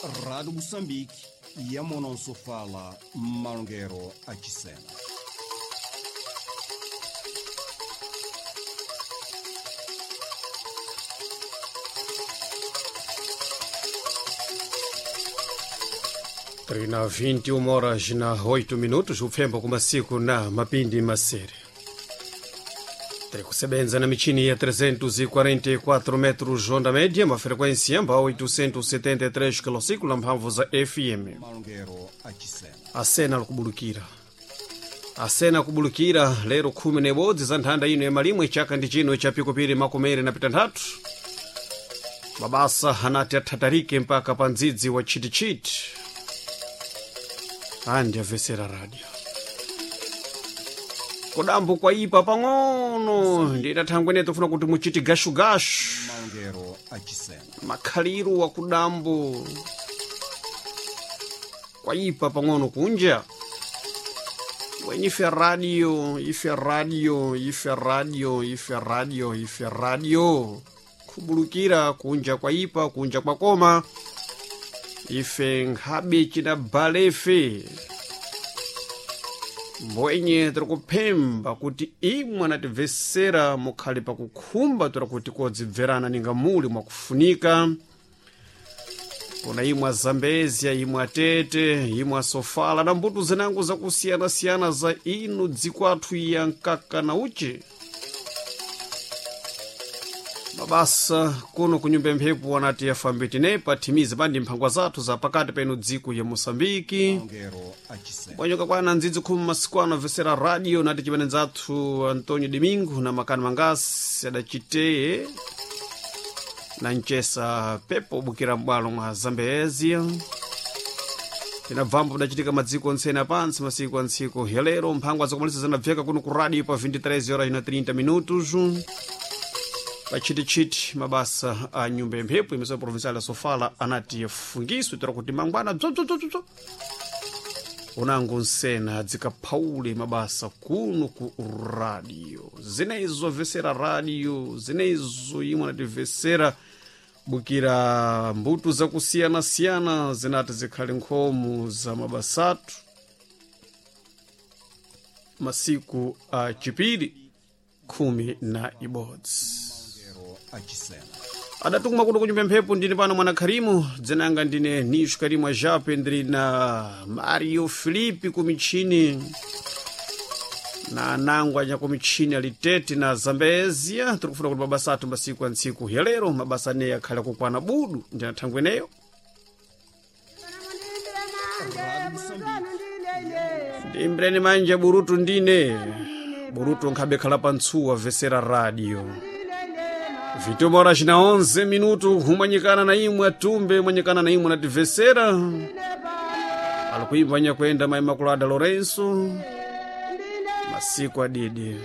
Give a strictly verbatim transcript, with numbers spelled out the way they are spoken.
Rádio Moçambique, Yamonansofala, Malongueiro, Achicena. Trina vinte e uma horas na oito minutos, upfembo kumasiku na mapindi masere. Tiri kusebenza na michini ya trezentos e quarenta e quatro metros onda média, uma frequência amba oitocentos e setenta e três quilociclo na mphamvu za F M. Malongueiro, Achicena. A cena likubulukira. A cena kubulukira lero khumi na ibodzi za nthanda ino ya malimwe chaka ndi chino cha pikupiri makumere na pitanthatu. Mabasa anati athatarike mpaka pa ndzidzi wa chitichiti. Andi amvesera radio. Kudambo kwaipa pang'ono nditathangwene tofuna kuti muchiti gashugashu. Malongueiro, Achicena. Makhaliro wa kudambo kwaipa pang'ono kunja. Wenye ife radio, ife radio, ife radio, ife radio, ife radio. Kubulukira kunja kwaipa, kunja kwakoma. Ife nkhabe china balefe. Mbwenye tiri kuphemba kuti imwe anatimvesera mukhale pakukhumba tora kuti kodzibverana ninga muli mwakufunika. Kuna imwe Zambezia, imwe Atete, imwe Sofala na mbuto zinango zakusiyana-siyana za inu dziko athu ya mkaka na uchi. Mabasa kuno kunyumba mphepo anati yafambe tinepa thimize pandi mphangwa zathu za pakati penu dziko ya Moçambique. Malongueiro, Achicena. Bwanyoka kwana ndzidzi khumi masiku ano amvesera radio nati chimene nzathu Antonio Domingo na Makani Mangasi adachiteye na mchesa pepo bukira m'bwalo mwa Zambezia. Tinabvambo kudachitika madziko ontsene apansi masiku a ntsiku ya lero mphangwa zakumalisa zinabveka kuno ku radio pa vinte e três horas na trinta minutos. Pachitichiti mabasa a nyumba ya mphepo imeso provincial ya Sofala anati yafungiswe tora kuti mangwana bzobzobzobzo unango nsena dzikaphaule mabasa kuno ku radio. Zinezo vesera radio, zinezo imwe anatimvesera bukira mbuto zakusiyana-siyana zinati zikhale nkhomo za mabasatu masiku a chipiri khumi na ibodzi. Malongueiro, Achicena. Adatukuma kuno kunyumba mphepo ndine pano mwana Kharimu, dzinanga ndine Nisho Karimu Ajape, ndiri na Mario Filipe kumichini na anango anya kumichini alitete na Zambezia. Tiri kufuna kuti mabasa athu masiku a ntsiku ya lero mabasa aneyi akhale kukwana budu ndi athangwe eneyo. Rádio Moçambique, Ndimbireni manja burutu ndine burutu nkhabe khala pa ntsuwa vesera radio. Vituma horas na onze minuto humanyikana na imwe atumbe manyikana na imwe nativesera alikuimba nyakwenda mai Makulada Lourenço masiku adidi.